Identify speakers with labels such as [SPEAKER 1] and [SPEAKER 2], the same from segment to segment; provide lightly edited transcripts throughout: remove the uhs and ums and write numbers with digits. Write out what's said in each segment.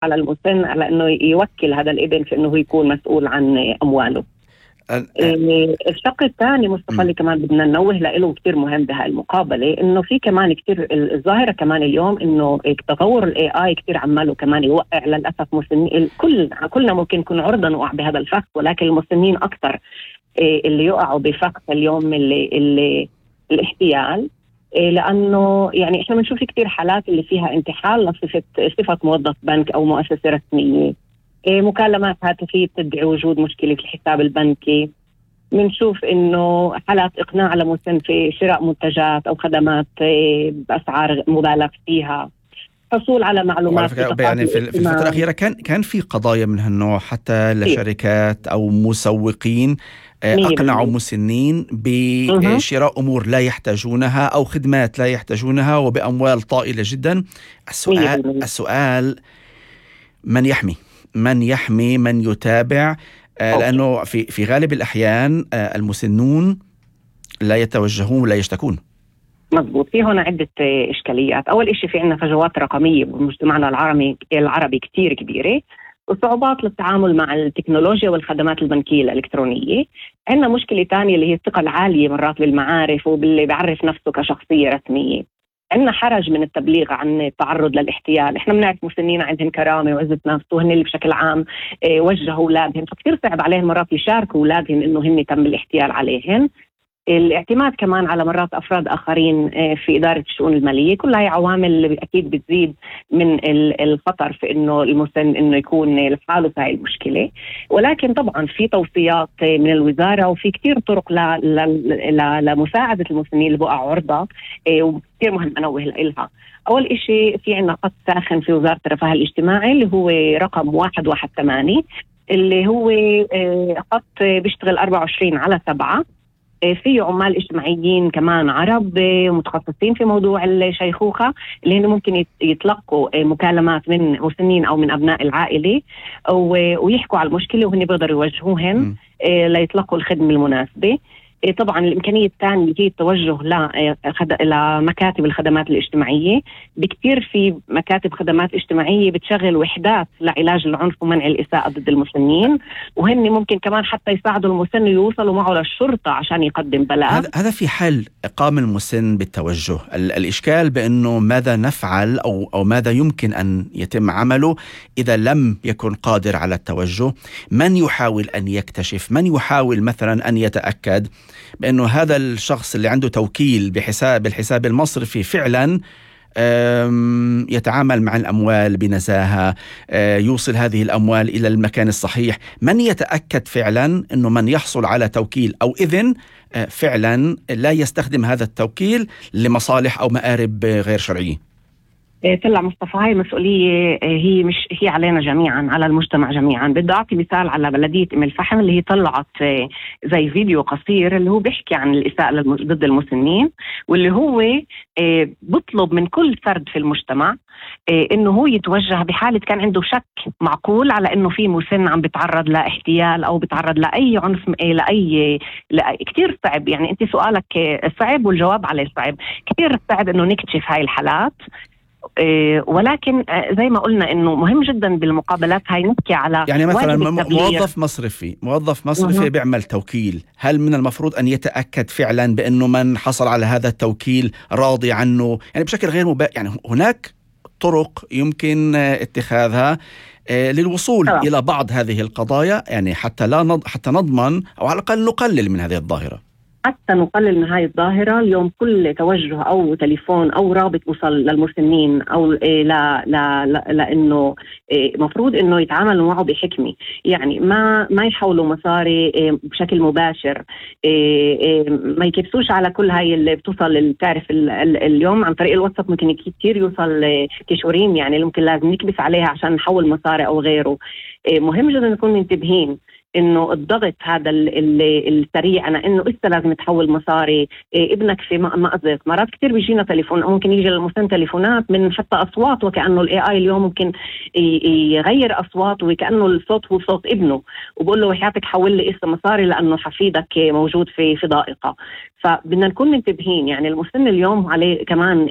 [SPEAKER 1] على المسن على انه يوكل هذا الابن في انه يكون مسؤول عن امواله. الشق الثاني مصطفى اللي كمان بدنا ننوه له كتير مهم بهاي المقابلة، انه في كمان كتير الظاهرة كمان اليوم انه تطور الاي اي كتير عماله كمان يوقع للأسف مسنين. كلنا ممكن نكون عرضة نوقع بهذا الفخ، ولكن المسنين اكثر اللي يقعوا بفخ اليوم اللي الاحتيال. لأنه يعني إحنا بنشوف كتير حالات اللي فيها انتحال لصفة موظف بنك أو مؤسسة رسمية، مكالمات هاتفية تدعي وجود مشكلة في الحساب البنكي. بنشوف إنه حالات إقناع لمسن في شراء منتجات أو خدمات بأسعار مبالغ فيها، حصول على معلومات.
[SPEAKER 2] يعني في الفترة الأخيرة كان في قضايا من هالنوع حتى لشركات أو مسوقين أقنعوا مسنين بشراء أمور لا يحتاجونها أو خدمات لا يحتاجونها وبأموال طائلة جدا. السؤال من يحمي من يتابع؟ لأنه في غالب الأحيان المسنون لا يتوجهون ولا يشتكون.
[SPEAKER 1] مضبوط. في هنا عدة إشكاليات. أول إشي في عنا فجوات رقمية بمجتمعنا العربي كتير كبيرة، وصعوبات للتعامل مع التكنولوجيا والخدمات البنكية الإلكترونية. عندنا مشكلة تانية اللي هي الثقة العالية مرات بالمعارف وباللي بيعرف نفسه كشخصية رسمية. عندنا حرج من التبليغ عن التعرض للاحتيال. احنا بنعرف مسنين عندهم كرامة وعزة نفس، وهن اللي بشكل عام وجهوا أولادهم، فكتير صعب عليهم مرات يشاركوا أولادهم إنه هن تم الاحتيال عليهم. الاعتماد كمان على مرات أفراد آخرين في إدارة الشؤون المالية، كلها هي عوامل اللي أكيد بتزيد من الخطر في إنه المسن إنه يكون لحاله في هاي المشكلة. ولكن طبعا في توصيات من الوزارة وفي كتير طرق لمساعدة المسنين اللي بقوا عرضة، وكتير مهم أنوه لها. أول إشي في عنا خط ساخن في وزارة الرفاه الاجتماعي اللي هو رقم 118، اللي هو خط بيشتغل 24/7. في عمال اجتماعيين كمان عرب متخصصين في موضوع الشيخوخة، اللي هن ممكن يتلقوا مكالمات من مسنين أو من أبناء العائلة ويحكوا على المشكلة، وهن بيقدروا يوجهوهم ليتلقوا الخدمة المناسبة. طبعا الإمكانية الثانية هي التوجه لمكاتب الخدمات الاجتماعية. بكتير في مكاتب خدمات اجتماعية بتشغل وحدات لعلاج العنف ومنع الإساءة ضد المسنين، وهن ممكن كمان حتى يساعدوا المسن يوصلوا معه للشرطة عشان يقدم بلاغ. هذا
[SPEAKER 2] في حال قام المسن بالتوجه. الإشكال بأنه ماذا نفعل أو ماذا يمكن أن يتم عمله إذا لم يكن قادر على التوجه. من يحاول أن يكتشف، من يحاول مثلا أن يتأكد بأنه هذا الشخص اللي عنده توكيل بالحساب المصرفي فعلا يتعامل مع الأموال بنزاهة، يوصل هذه الأموال إلى المكان الصحيح. من يتأكد فعلا أنه من يحصل على توكيل أو إذن فعلا لا يستخدم هذا التوكيل لمصالح أو مآرب غير شرعية؟
[SPEAKER 1] طلع مصطفى هاي مسؤولية هي علينا جميعا، على المجتمع جميعا. بدي أعطي مثال على بلدية أم الفحم اللي هي طلعت زي فيديو قصير اللي هو بيحكي عن الإساءة ضد المسنين، واللي هو بطلب من كل فرد في المجتمع إنه هو يتوجه بحالة كان عنده شك معقول على إنه في مسن عم بيتعرض لاحتيال أو بيتعرض لأي عنف، كتير صعب. يعني أنت سؤالك صعب والجواب عليه صعب. كتير صعب إنه نكتشف هاي الحالات، ولكن زي ما قلنا إنه مهم جدا بالمقابلات هاي نحكي على
[SPEAKER 2] يعني مثلا موظف مصرفي بيعمل توكيل، هل من المفروض أن يتأكد فعلا بأنه من حصل على هذا التوكيل راضي عنه؟ يعني بشكل غير يعني هناك طرق يمكن اتخاذها للوصول إلى بعض هذه القضايا، يعني حتى نضمن أو على الأقل نقلل من هذه الظاهرة.
[SPEAKER 1] حتى نقلل من هاي الظاهرة اليوم كل توجه أو تليفون أو رابط وصل للمسنين أو لأنه مفروض إنه يتعاملوا معه بحكمة. يعني ما يحولوا مصاري بشكل مباشر، ما يكبسوش على كل هاي اللي بتوصل. تعرف اليوم عن طريق الواتساب ممكن كتير يوصل كشورين، يعني ممكن لازم نكبس عليها عشان نحول مصاري أو غيره. مهم جدا نكون منتبهين انه الضغط هذا السريع، انا انه لسه لازم تحول مصاري، ابنك في مأزق. مرات كتير بيجينا تليفون، ممكن يجي للمسن تليفونات من حتى اصوات، وكأنه الاي اي اليوم ممكن يغير اصوات وكأنه الصوت هو صوت ابنه، وبقول له وحياتك حول لي اسم مصاري لانه حفيدك موجود في ضائقة. فبدنا نكون منتبهين. يعني المسن اليوم عليه كمان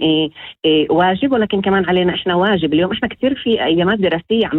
[SPEAKER 1] واجب، ولكن كمان علينا احنا واجب. اليوم احنا كتير في ايامات دراسية عم